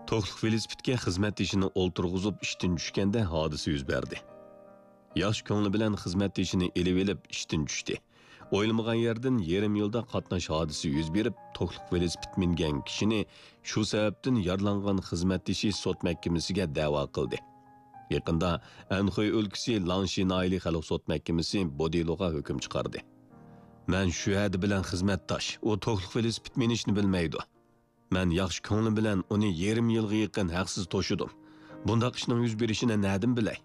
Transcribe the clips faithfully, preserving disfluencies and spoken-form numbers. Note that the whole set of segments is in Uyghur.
توكلۇق ۋېلىسىپىتكە خىزمەتدىشىنى ئولتۇرغۇزۇپ ئىشتىن چۈشكەندە ھادىسە يۈز بەردى. ياخشى كۆڭلى بىلەن خىزمەتدىشىنى ئېلىۋېلىپ ئىشتىن چۈشتى. ئويلىمىغان يەردىن يېرىم يىلدا قاتناش ھادىسىسى يۈز بېرىپ، توكلۇق ۋېلىسىپىت مىنگەن كىشىنى شۇ سەۋەبتىن يارىلانغان خىزمەتدىشى سوت مەھكىمىسىگە دەۋا قىلدى. يېقىندا ئەنخۇي ئۆلكىسى لانشى ناھىيەلىك خەلق سوت مەھكىمىسى بۇ دېلوغا ھۆكۈم چىقاردى. مەن شۇ ھەدە بىلەن خىزمەتداش، ئۇ توكلۇق ۋېلىسىپىت مىنىشنى بىلمەيدۇ. مەن ياخشى كۆڭلۈم بىلەن ئۇنى يېرىم يىلغا يېقىن ھەقسىز توشۇدۇم. بۇنداق ئىشنىڭ يۈز بېرىشىنى نەدىن بىلەي؟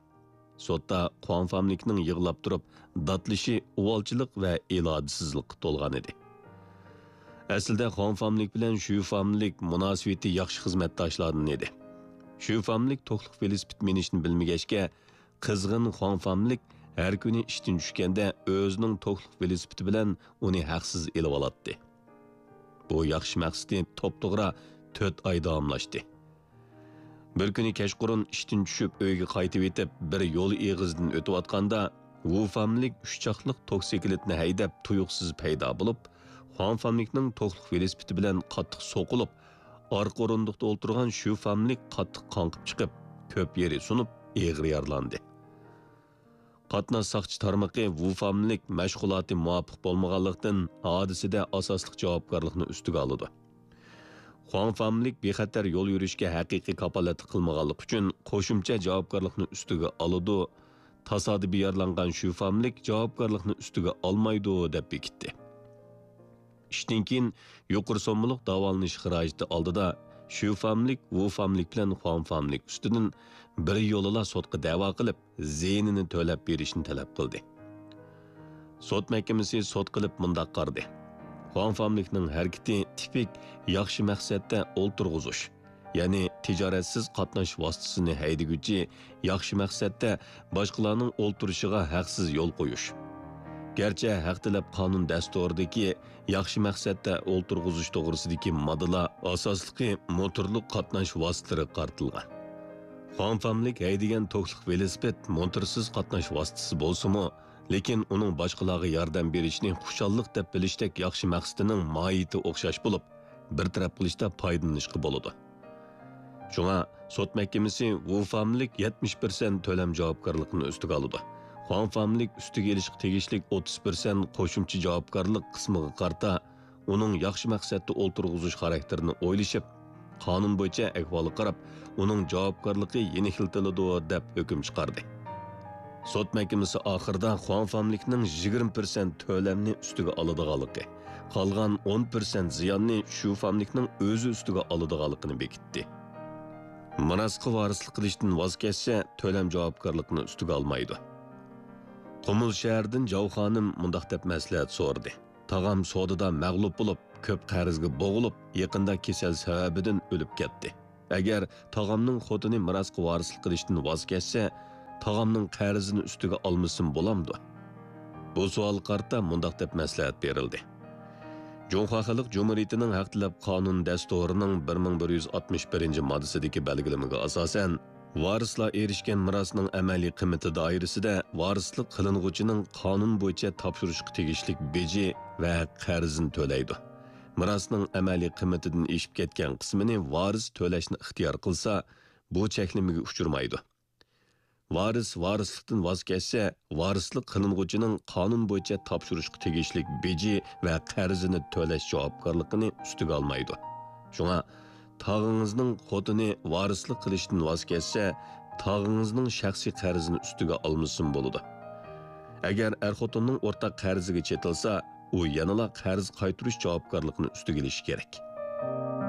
سوتتا خۇاڭ فاملىكنىڭ يىغلاپ تۇرۇپ داتلىشى ئۇۋالچىلىق ۋە ئىرادىسىزلىققا تولغان ئىدى. ئەسلىدە خۇاڭ فاملىك بىلەن شۈ فاملىك مۇناسىۋىتى ياخشى خىزمەتداشلاردىن ئىدى. شۈ فاملىك توكلۇق ۋېلىسىپىت مىنىشنى بىلمىگەچكە، قىزغىن خۇاڭ فاملىك ھەر كۈنى ئىشتىن چۈشكەندە ئۆزىنىڭ توكلۇق ۋېلىسىپىتى بىلەن ئۇنى ھەقسىز ئېلىۋالاتتى. بۇ ياخشى مەقسىتى توپتوغرا تۆت ئاي داۋاملاشتى. بىر كۈنى كەچقۇرۇن ئىشتىن چۈشۈپ ئۆيگە قايتىۋېتىپ، بىر يول ئېغىزىدىن ئۆتۈۋاتقاندا، ۋۇ فاملىك ئۈچ چاقلىق توكسىكلىتنى ھەيدەپ تۇيۇقسىز پەيدا بولۇپ، خۇاڭ فاملىكنىڭ توكلۇق ۋېلىسىپىتى بىلەن قاتتىق سوقۇلۇپ، ئارقا ئورۇندۇقتا ئولتۇرغان شۈ فاملىك قاتتىق قاڭقىپ چىقىپ، كۆپ يېرى سۇنۇپ، ئېغىر يارىلاندى. قاتناش ساقچى تارمىقى ۋۇ فاملىك مەشغۇلاتى مۇۋاپىق بولمىغانلىقتىن، ھادىسىدە ئاساسلىق جاۋابكارلىقنى ئۈستىگە ئالىدۇ. خۇاڭ فاملىك بىخەتەر يول يۈرۈشكە ھەقىقىي كاپالەتلىك قىلمىغانلىقى ئۈچۈن قوشۇمچە جاۋابكارلىقنى ئۈستىگە ئالىدۇ، تاسادىپىي يارىلانغان شۈ فاملىك جاۋابكارلىقنى ئۈستىگە ئالمايدۇ، دەپ بېكىتتى. ئىشتىن كېيىن يۇقىرى سوممىلىق داۋالىنىش خىراجىتى ئالدىدا شۈ فاملىك ۋۇ فاملىك بىلەن خۇاڭ فاملىك ئۈستىدىن بىر يولىلا سوتقا دەۋا قىلىپ، زىيىنىنى تۆلەپ بېرىشنى تەلەپ قىلدى. سوت مەھكىمىسى سوت قىلىپ مۇنداق قارىدى: خۇاڭ فاملىكنىڭ ھەرىكىتى تىپىك ياخشى مەقسەتتە ئولتۇرغۇزۇش، يەنى تىجارەتسىز قاتناش ۋاسىتىسىنى ھەيدىگۈچى ياخشى مەقسەتتە باشقىلارنىڭ ئولتۇرۇشىغا ھەقسىز يول قويۇش. گەرچە ھەق تەلەپ قانۇن دەستۇرىدىكى ياخشى مەقسەتتە ئولتۇرغۇزۇش توغرىسىدىكى ماددىلار ئاساسلىقى موتورلۇق قاتناش ۋاسىتىلىرىغا قارىتىلغان. خۇاڭ فاملىك ھەيدىگەن توكلۇق ۋېلىسىپىت موتورسىز قاتناش ۋاسىتىسى بولسىمۇ، لېكىن ئۇنىڭ باشقىلارغا ياردەم بېرىشنى خۇشاللىق دەپ بىلىشتەك ياخشى مەقسىتىنىڭ ماھىيىتى ئوخشاش بولۇپ، بىر تەرەپ قىلىشتا پايدىلىنىشقا بولىدۇ. شۇڭا سوت مەھكىمىسى ۋۇ فاملىك يەتمىش پىرسەنت تۆلەم جاۋابكارلىقىنى ئۈستىگە ئالىدۇ. خۇاڭ فاملىك ئۈستىگە ئېلىشقا تېگىشلىك ئوتتۇز پىرسەنت قوشۇمچە جاۋابكارلىق قىسمىغا قارىتا، ئۇنىڭ ياخشى مەقسەتتە ئولتۇرغۇزۇش خاراكتېرىنى ئويلىشىپ، قانۇن بويىچە ئەھۋالغا قاراپ، ئۇنىڭ جاۋابكارلىقى يېنىكلىتىلىدۇ، دەپ ھۆكۈم چىقاردى. سوت مەھكىمىسى ئاخىرىدا خۇاڭ فاملىكنىڭ يىگىرمە پىرسەنت تۆلەمنى ئۈستىگە ئالىدىغانلىقى، قالغان ئون پىرسەنت زىياننى شۈ فاملىكنىڭ ئۆزى ئۈستىگە ئالىدىغانلىقىنى بېكىتتى. مىراسقا ۋارىسلىق قىلىشتىن ۋاز كەچسە، تۆلەم جاۋابكارلىقىنى ئۈستىگە ئالمايدۇ. قۇمۇل شەھىرىدىن جاۋ خانىم مۇنداق دەپ مەسلىھەت سورىدى: تاغام سودىدا مەغلۇپ بولۇپ، كۆپ قەرزگە بوغۇلۇپ، يېقىندا كېسەل سەۋەبىدىن ئۆلۈپ كەتتى. ئەگەر تاغامنىڭ خوتۇنى مىراسقا ۋارىسلىق قىلىشتىن ۋاز كەچسە، تاغامنىڭ قەرزىنى ئۈستىگە ئالمىسىمۇ بولامدۇ؟ بۇ سوئالغا قارىتا مۇنداق دەپ مەسلىھەت بېرىلدى: جۇڭخۇا خەلق جۇمھۇرىيىتىنىڭ ھەق تەلەپ قانۇن دەستۇرىنىڭ بىر مىڭ بىر يۈز ئاتمىش بىرىنچى ماددىسىدىكى بەلگىلىمىگە ئاساسەن، ۋارىسلار ئېرىشكەن مىراسنىڭ ئەمەلىي قىممىتى دائىرىسىدە ۋارىسلىق قىلىنغۇچىنىڭ قانۇن بويىچە تاپشۇرۇشقا تېگىشلىك بېجى ۋە قەرزىنى تۆلەيدۇ. مىراسنىڭ ئەمەلىي قىممىتىدىن ئېشىپ كەتكەن قىسمىنى ۋارىس تۆلەشنى ئىختىيار قىلسا، بۇ چەكلىمىگە ئۇچرىمايدۇ. ۋارىس ۋارىسلىقتىن ۋاز كەچسە، ۋارىسلىق قىلىنغۇچىنىڭ قانۇن بويىچە تاپشۇرۇشقا تېگىشلىك بېجى ۋە قەرزىنى تۆلەش جاۋابكارلىقىنى ئۈستىگە ئالمايدۇ. شۇڭا، تاغىڭىزنىڭ خوتۇنى ۋارىسلىق قىلىشتىن ۋاز كەچسە، تاغىڭىزنىڭ شەخسىي قەرزىنى ئۈستىگە ئالمىسىمۇ بولىدۇ. ئەگەر ئەر-خوتۇننىڭ ئورتاق قەرزىگە چېتىلسا، ئۇ يەنىلا قەرز قايتۇرۇش جاۋابكارلىقىنى ئۈستىگە ئېلىشى كېرەك.